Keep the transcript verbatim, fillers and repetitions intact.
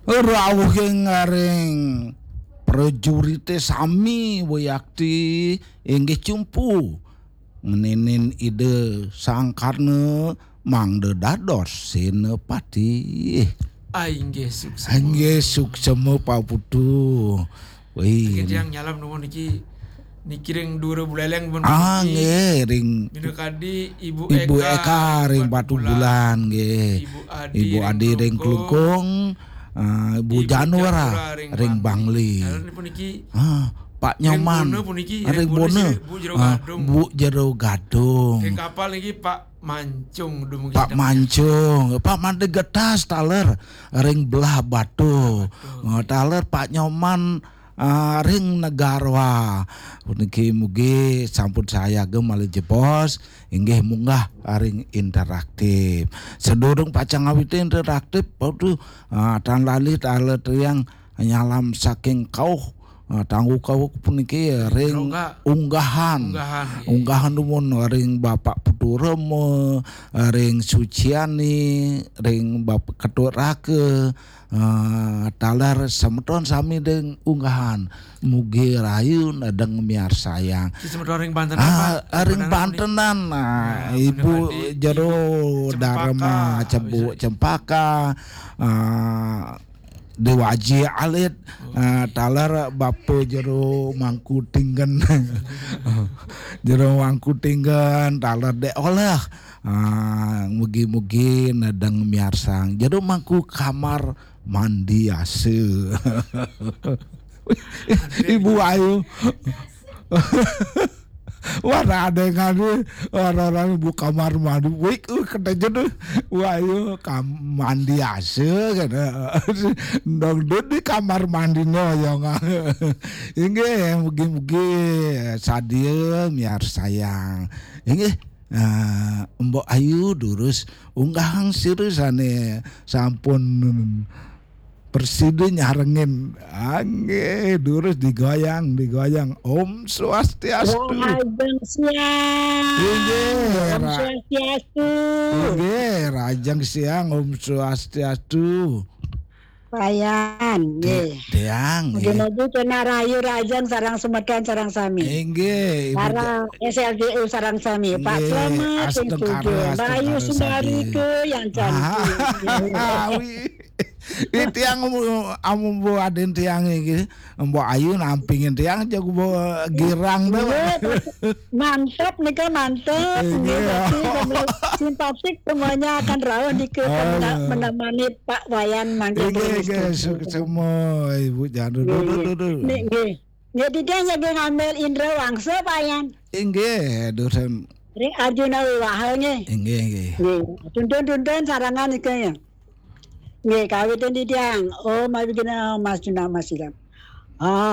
Rauhing ring prajurite sami wiakti inggih cumpu ngeninin Ida Sang Karna mangda dados senapati. Ah, inggih suksma. Inggih suksma, Pak Putu. Wih. Nggih, tiang nyalam nuwun niki, niki ring Dura Buleleng pun. Ah, niki. Nggih, ring Minakadi Ibu Ibu Eka Eka ring ring Batu Batu Bulan. Bulan, nggih. Ibu Adi Ibu ring Adi ring Klungkung. Klungkung. Ah, Bu Ibu Janura Janura ring ring Bangli. Bangli. Dalam niki, ah, Pak ring Nyoman Bona puniki, ring ring Bona Bona. Sih, Bu Jero Ah, Gadung. Bu Jero Gadung. Ring kapal niki Pak Mancung, duh, mungkin Pak sedang Mancung, Pak Made Getas taler ring Belah Batu. Batu. Ah, taler Pak Nyoman, ah, ring Negara. Puniki mugi sampun sayaga malih jebos, inggih munggah ring interaktif. Sadurung pacang ngawiti interaktif, Pak Putu, ah, tan lali taler tiang nyalam saking kauh, ah, tanggu kauh puniki ring Rongga. Unggahan. Unggahan, nggih. Unggahan dumun ring Bapak Putu Rema, ring Suciani, ring Bapak Ketut Raka, ah, taler semeton sami ring Unggahan. Mugi rahayu nedeng miarsayang. Ki semeton ring Banten, ah, apa? Ring Banten, Bantenan, ah, nah, Ibu bener tadi, Jero Ibu Cempaka, Dharma, Cebu bisa. Cempaka, ah, Dewaji Alit, ah, taler Bapa Jero Mangku Tinggen. Jero Mangku Tinggen, taler Dek Oleh. Ah, mugi-mugi nedeng miarsang. Jero Mangku Kamar Mandi Asa. Ibu Ayu. Wah, ada yang ngadu, orang-orang ibu kamar mandi, wik, uh, kata je tu, wah, ayo, kam-, mandi asa, kata. Dong, duduk di kamar mandi no, yang. Inggih, mugi-mugi sadia miarsayang. Inggih, ah, Mbok Ayu durus unggahang sira sane sampun prasida nyarengin. Anggih, durus digoyang, digoyang. Om Swastiastu. Rahajeng siang. Inggih, Om Ra-, Swastiastu. Inggih, rahajeng siang, Om Swastiastu. Wayan, Ti-, nggih. Tiang, nggih. Mugi-mugi kena rahayu rahajeng sareng semeton sareng sami. Inggih, Ibu Ja-, sareng S L J U sareng sami. Pak Inggih, Slamet, Astungkara, Sing Sugih, Mbak Ayu Astungkara Sundari Sadi. Ke yang cantik. Ah, wi. Ini tiang amu, amu bu adin tiang iki. Mbok Ayu nampingin tiang jago bu girang tuh. Iya, mantap nih kan, mantap. Iya. Nggih, berarti sambil simpasik semuanya akan rauh di ke Aduh. Menemani Pak Wayan mangkin. Nggih, nggih, sukses semua, Ibu Janur. Nggih, duh, duh, nggih. Duh, duh. Nih, nggih. Nggih, Dida nggih ngambil Indra Wangsa, Pak Yan. Inggih, duh, sem- Ring Arjuna Wiwaha nggih. Inggih, inggih. Nggih, tuntun-tuntun sarangan iki ya. Nggih, kawitin titiang. Om Abhigina Mas Juna Mas Silam. Ah.